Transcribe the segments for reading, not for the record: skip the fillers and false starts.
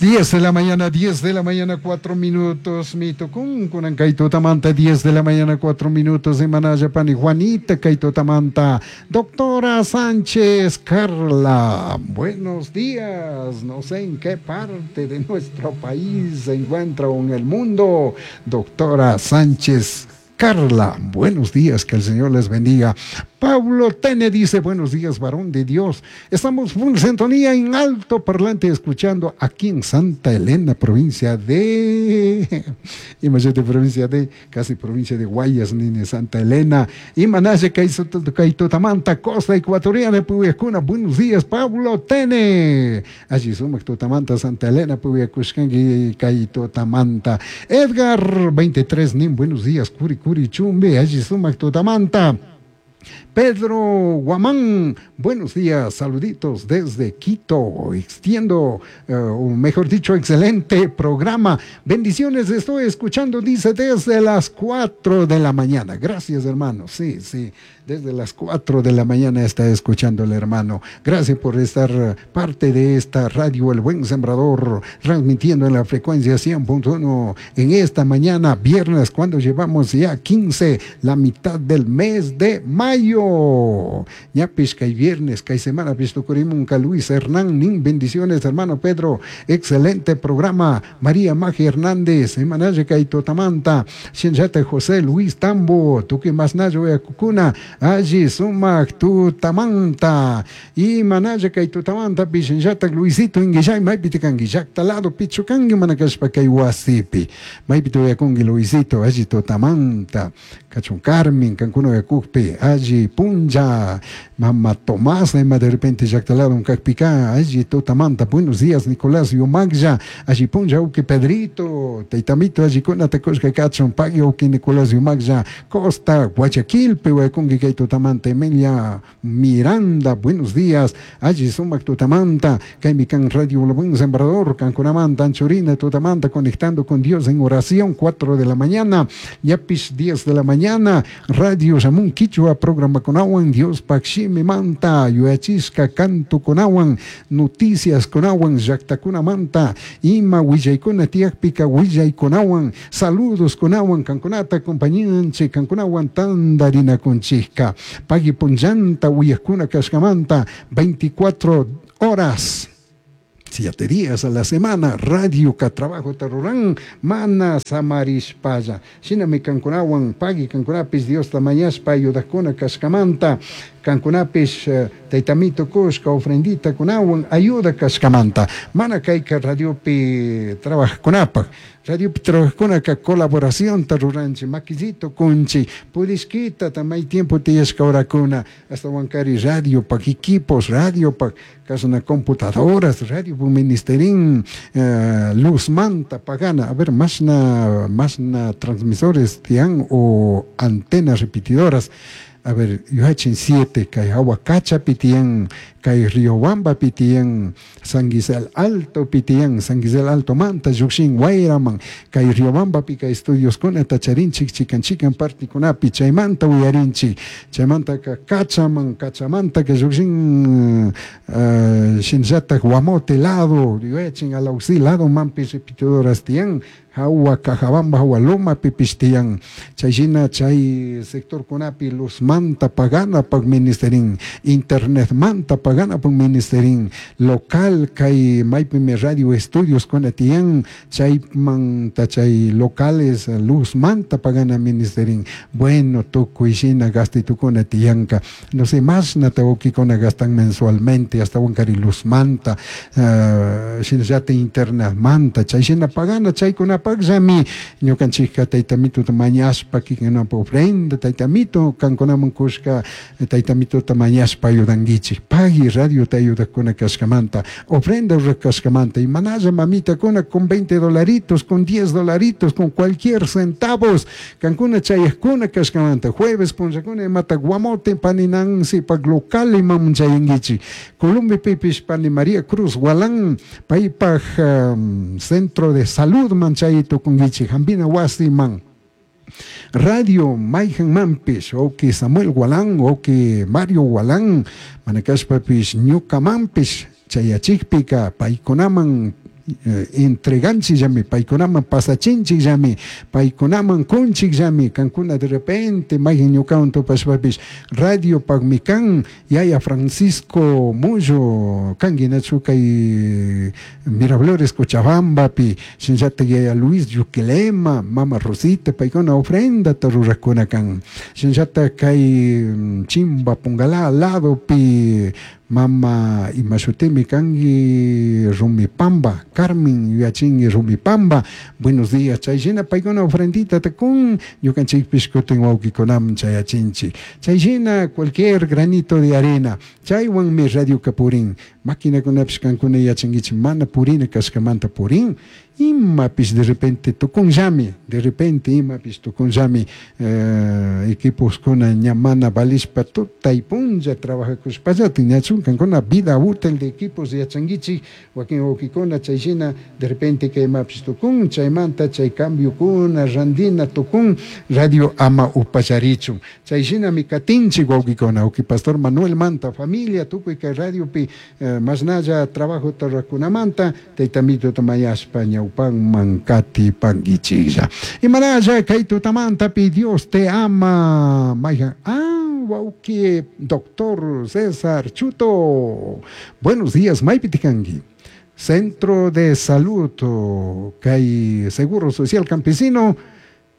10 de la mañana, 10 de la mañana, 4 minutos. Mi tucun, kunan kay tutamanta, 10 de la mañana, 4 minutos. De Manayapani, Juanita kay tutamanta. Doctora Sánchez Carla, buenos días. No sé en qué parte de nuestro país se encuentra o en el mundo. Doctora Sánchez Carla, buenos días, que el Señor les bendiga. Pablo Tene dice, buenos días, varón de Dios. Estamos en sintonía en alto parlante escuchando aquí en Santa Elena, provincia de... Imagínate, provincia de... Casi provincia de Guayas, nene, Santa Elena. Y Manaje, Kaitotamanta, costa ecuatoriana, Puyaccuna. Buenos días, Pablo Tene. Allí sumac Tutamanta, Santa Elena, Puyacushkangi, Kaitotamanta. Edgar, 23, nin, buenos días, Curi Curi Chumbe, allí sumac Tutamanta. Pedro Guamán, buenos días, saluditos desde Quito, extiendo, o mejor dicho, excelente programa, bendiciones, estoy escuchando, dice, desde las 4 de la mañana, gracias hermano, sí, sí, desde las 4 de la mañana está escuchando el hermano, gracias por estar parte de esta radio El Buen Sembrador, transmitiendo en la frecuencia 100.1 en esta mañana, viernes, cuando llevamos ya 15, la mitad del mes de mayo. Ñapish kay viernes, kay semana pistucurimunka Luis Hernán, nin bendiciones hermano Pedro, excelente programa, María Magia Hernández, Emanaye kay Totamanta, Shinjate José Luis Tambo, tuki masnayo yakukuna, allí sumak tutamanta, y manaye kay Tutamanta, pishinjata Luisito inguillay, maypi tikanki, llaqta lado pichukanki manakashpa kay wasipi, maypi tuyakunki Luisito, allí Tutamanta, kachun Carmen, kankuna yakukpi, allí Punja, Mamá Tomás, de repente llaqta lado kakpika, allí Tutamanta, buenos días Nicolás Yumagya, allí Punja, uki Pedrito, Teitamito, allí kuna takushka kachun, pagui uki Nicolás Yumagya, Costa, Guayaquil, pehuakunki kay Tutamanta, Emilia Miranda, buenos días, allí sumak Tutamanta, kaymi kan Radio El Buen Sembrador, Cancunamanta, Anchurina, Tutamanta, conectando con Dios en oración, 4 de la mañana, Yapis 10 de la mañana, Radio Samun Quichua, programa kunawan, Dios pakshimi manta, yuyachisca canto kunawan, noticias kunawan, llaqtakuna manta, ima willaykuna tiyakpika willaykunawan, saludos kunawan, kankunata acompañanchik, kankunawan tandarinakunchikka, pagui punllanta uyakuna kashkamanta, 24 horas. 7 días a la semana, radio ka trabajo tarurán, mana samarishpaya. Shinami kankunawan, pagui kankunapis Dios tamañashpa ayudakuna kashkamanta, kankunapis taytamito kushka ofrendita kunawan ayuda kashkamanta. Mana kayka radiopi trabajakunapaj. Radiopi trabajakunaka colaboración taruranchi, maquillito kunchi, purishkita tamay tiempo tiyashka horakuna, hasta wankari radio pak equipos, radio pak kasuna computadoras, radio pak ministerín, luz manta pagana, a ver, masna transmisores tian o antenas repetidoras. A ver, yuhachin 7, kay Ahuacacha pitian, kay Riobamba pitian, San Gisel Alto pitian, San Gisel Alto manta, Yuxin Guayraman, kay Riobamba pika estudios kuna tacharinchik, chikan chikan partikunapi, chaymanta uyarinchik, chaymanta ka Cachaman, Cachamanta ka Yuxin, Shinzata Guamote lado, yuhachin Alaucí lado mampi repetidoras tian, Hawa Cajabamba, Hawa Loma pipistian, chayshina chay sector kunapi luz manta pagana pag ministerin, internet manta pagana pag ministerin, local kay maypimi radio estudios kunatian, chay manta chay locales luz manta pagana ministerin, bueno tukuy shina gastitukuna tianka, no sé más natawukikuna gastan mensualmente, hasta wankari luz manta, shinallata internet manta, chayshina pagana chaykuna pagllami ñukanchikka taytamituta mañashpa kikinapa ofrenda taytamito kankunaman kushka taytamituta mañashpa ayudankichik, pagui radio ta ayudakuna kashkamanta, ofrenda rurak kashkamanta, y manalla mamitakuna con 20 dolaritos, con 10 dolaritos, con cualquier centavos, kankuna chayakuna kashkamanta, jueves punllakuna imata Guamote pani Nancy pag local imam chayankichik, Colombia pipish pani María Cruz Gualán, paypaj centro de salud man chay tukunkichik, hampina wasi man. Radio Mayhan Mampish, oki Samuel Gualán, oki Mario Gualán, manakashpapish ñuka mampish, chayachikpika paykunaman Entreganchikllami, paykunaman pasachinchikllami, paykunaman kunchikllami. Kankuna de repente mayqin ñukawan tupashpapish radiopakmi kan. Yaya Francisco Mullo kanki nachu kay Miraflores Cochabambapi, shinallatak yaya Luis Yuquilema, mama Rosita, paykuna ofrendata rurakuna kan. Shinallatak kay Chimba Pungalá ladopi mama imashutimi kanki Rumipamba, Carmen yuyachinki Rumipamba, buenos días. Chay shina paykuna ofrendita kun, ñukanchikpish kutin wawkikunaman chayachinchik. Chay shina cualquier granito de arena, chaywanmi radioka purin. Maquinakunapish kankuna yachankichik mana purina kashkamanta purin, imapish de repente tukunllami, de repente imapish tukunllami, equiposkuna ña mana valishpa tutay punlla trabajakushpallatik ñachun kankuna vida útil de equipos yachankichik wakin wawkikuna. Chay shina de repente kay imapish tukun, chaymanta chay cambiokuna randina tukun, radio ama upallarichun. Chay shinami katinchik wawkikuna. Wawki pastor Manuel manta familia tukuy kay radiopi mashnalla trabajota rurakunamanta tayta Mituta mañashpa ñawpanman katipankichiklla. Imanalla kay tutamantapi Dios te ama. Mayhan wawki doctor César Chuto, buenos días. Maypi kanki? Centro de Salud kay Seguro Social Campesino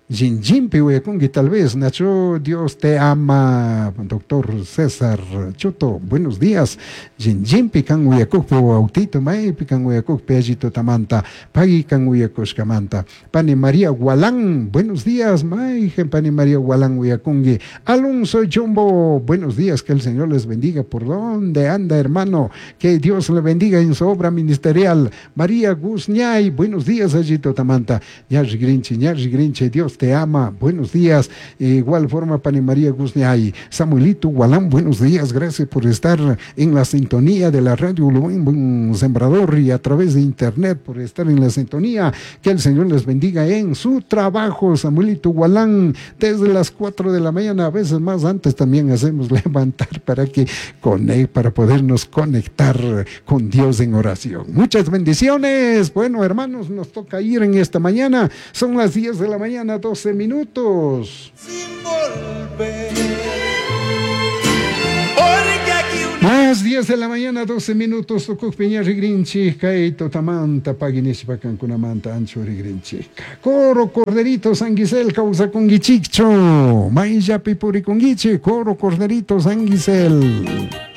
Jinjinpi uyakunki tal vez, Nacho, Dios te ama, doctor César Chuto, buenos días. Jinjinpi kan uyakukpi autito, maypi kan uyakukpi alli tutamanta, pagui kan uyakushkamanta. Pani María Gualán, buenos días, mayjen Pani María Gualán uyakungi. Alonso Chumbo, buenos días, que el Señor les bendiga. ¿Por dónde anda, hermano? Que Dios le bendiga en su obra ministerial. María Guzñay, buenos días, allí tutamanta. Ñarri Grinche, Ñarri Grinche, Dios te ama, buenos días. Igual forma, Pani María Guzñay. Samuelito Gualán, buenos días, gracias por estar en la sintonía de la radio Buen Sembrador y a través de internet por estar en la sintonía. Que el Señor les bendiga en su trabajo, Samuelito Gualán, desde las 4 de la mañana, a veces más antes también hacemos levantar para que para podernos conectar con Dios en oración. Muchas bendiciones. Bueno, hermanos, nos toca ir en esta mañana. Son las 10 de la mañana, 12 minutos. Sin volver. Porque aquí una... Las 10 de la mañana, 12 minutos, tukukpi ña rigrinchik, kay tutamanta paginishpa kankunamanta ancho rigrinchik. Coro Corderito San Gisel kawsakunkichikchu, mayllapi purikunkichik, Coro Corderito San Gisel.